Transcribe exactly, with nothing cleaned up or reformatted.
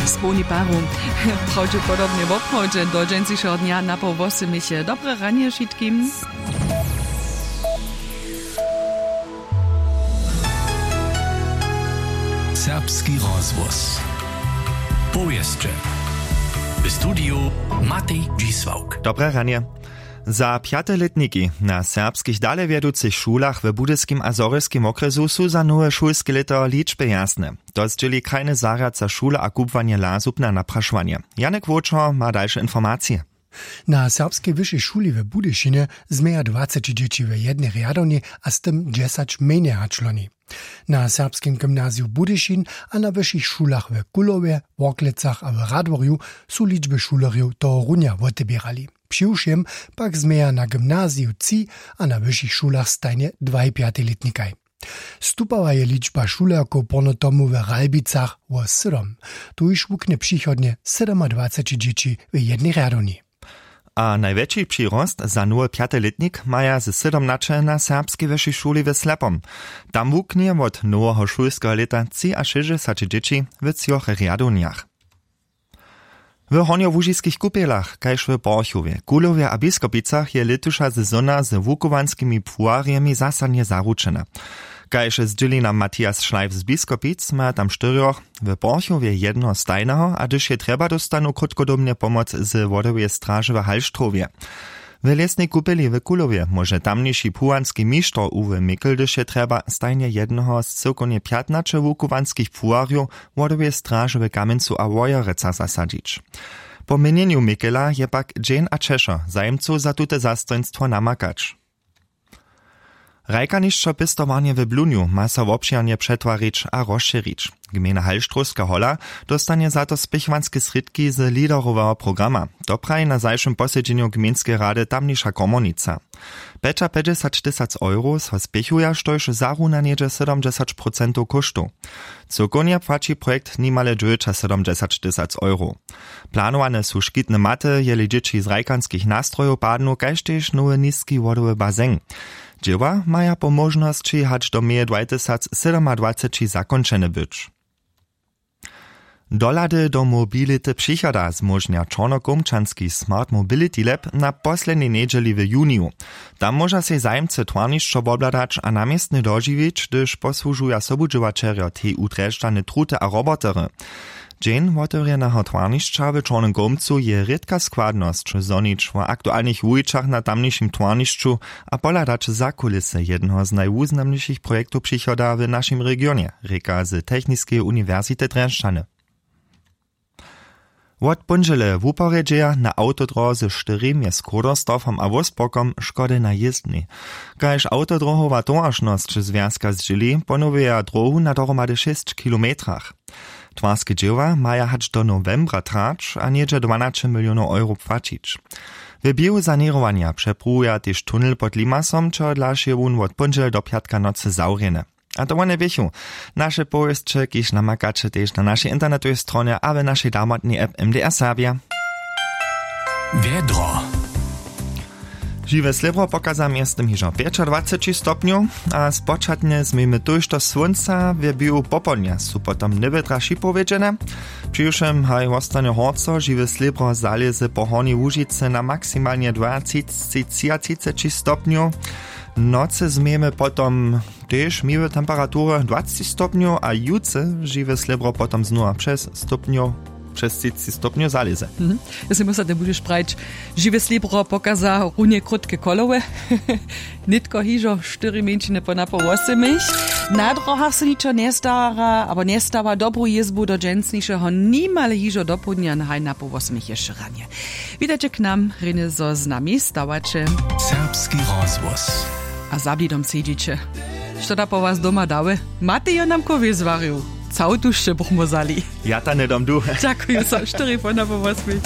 Społni paru. Prawdźepodobnje woprawdźe do dźensnišeho dnja napoł wosymich. Dobre ranje wšitkim. Serbski rozhłos. Powěsće. W studiju Matej Dźisławk. Dobre ranje. Za pjate lětniki na serbskich dalewjeducych šulach w budyskim a zhorjelskim wokrjesu su za nowe šulske lěto ličby jasne. To zdźěli krajny zarjad za šule a kubłanje lazub na naprašowanje. Janek Wóčor ma dalše informacije. Na serbskej wyšej šuli w budyšinje změja dwaceći dźěći w jednej rjadowni a z tym dźesać mjenje hač loni. Na serbskim gymnaziju budyšin a na wyšich šulach w kulowje, worklecach a w radworju su ličby šulerjow tohorunja woteběrali. Přiwšěm pak změja na gymnaziju tři a na wyšich šulach stajnje dwaj pjatej lětnikaj. Stupała je ličba šulerkow porno tomu w ralbicach wo sydom. Tuž wuknje přichodnje sydomadwaceći dźěći w jednej rjadowni. A najwjetši přirost za nowy pjaty lětnik maja ze sydomnaće na serbskej wyšej šuli w slepom. Tam wuknje wot noweho šulskeho lěta třiašěsćdźesaće dźěći w třoch rjadownjach. W hornjołužiskich kupjelach kaž w porchowje, kulowje a biskopicach je lětuša sezona z wukowanskimi płuwarjemi zasadnje zaručena. Kaž zdźěli nam matthias šleif z biskopic, maja tam štyrjoch, w porchowje jednoho stajneho a hdyž je trjeba dóstanu krótkodobnje pomoc z wodoweje straže w halštrowje. W lěsnej kupeli w kulowje móže tamniši płuwanski mišter uwe mikl hdyž je trjeba stajnje jednoho z cyłkownje pjatnaće wukowanskich płuwarjow wodoweje straže w kamjencu a wojerecach zasadźić. Po měnjenju mikela je pak dźeń a ćešo zajimcow za tute zastojnstwo namakać. Hrajkanišćo pěstowarnje w blunju ma so wobšěrnje přetwarić a rozšěrić. Gmejna halštrowska hola dóstanje za to spěchowanske srědki z leaderoweho programa. To praji na zašłym posedźenju gmejnskeje rady tamniša komornica. Pjećapjećdźesać tysac euro so spěchuja štož zaruna něhdźe sydomdźesać procentow kóštow. Cyłkownje płaći projekt nimale dźewjećasydomdźesać tysac euro. Planowane su škitne maty jeli dźěći z hrajkanskich nastrojow padnu kaž tež nowy niski wodowy bazeng. Dźěła maja po móžnosći hač do meje dwajtysac sydomadwaceći zakónčene być. Dohlady do mobility přichoda zmóžnja čornokołmčanski smart mobility lab na poslednjej njedźeli w juniju. Tam móža sej zajimcy twarnišćo wobhladać a na městnje dožiwić hdyž posłužuja sobudźěłaćerjo tu drježdźany truty a robotery. Dźeń wotewrjeneho twarnišća w čornym kołmcu je rědka składnosć zhonić wo aktualnych wuwićach na tamnišim twarnišću a pohladać za kulisy jednoho z najwuznamnišich projektow přichoda w našim regionje, rěka z techniskeje uniwersity drježdźany. Wot póndźele wuporjedźeja na awtodróze štyri mjez chodersdorfom a wurstburkom škody na jězdnej. Kaž awtodróhowa towaršnosć zwjazka zdźěli ponowjeja dróhu na dohromady šěsć kilometrach. Twarske dźěła maja hač do nowembra trać a něhdźe dwanaće milionow euro płaćić. W běhu saněrowanja přepruwuja tež tunel pod limasom čehodlaž je wón wot póndźele do pjatka nocy zawrjeny. A to wone běchu naše powěsće kiž namakaće tež na našej internetowej stronje a w našej damotnej app mdr serbja. Wjedro. Žiwe slěbro pokaza mjeztym hižo pjećadwaceći stopnjow a spočatnje změjmy tójšto słónca w běhu popołdnja su potom njewětra šipowjedźene. Přiwšěm haj wostanje horco žiwe slěbro zalěze po hornjej łužicy na maksimalnje dwatřiceći stopnjow. Nocy změjmy potom tež miłe temperatury dwaceći stopnjow a jutře žiwe slěbro potom znowa přez stopnjow přez třiceći stopnjow zalěze. Mhm. Jesi musa te budźeš prajić, žiwe slěbro pokaza runje krótke kolowe. Nětko hižo štyri mjeńšiny po napoł wosymich. Na drohach se ničo njestara abo njestawa dobru jězbu do dźensnišeho nimale hižo dopołdnja haj napoł wosymich ješće ranje. Witajće k nam rjenje zo z nami stawaće. Serbski rozhłos. A za blidom sedźiće. Što da po was doma dały? Matej jo nam kowě zwarił. Całtušće buchmo zali. Ja ta njedom du. Dźakuju so štyri po napoł wosmich.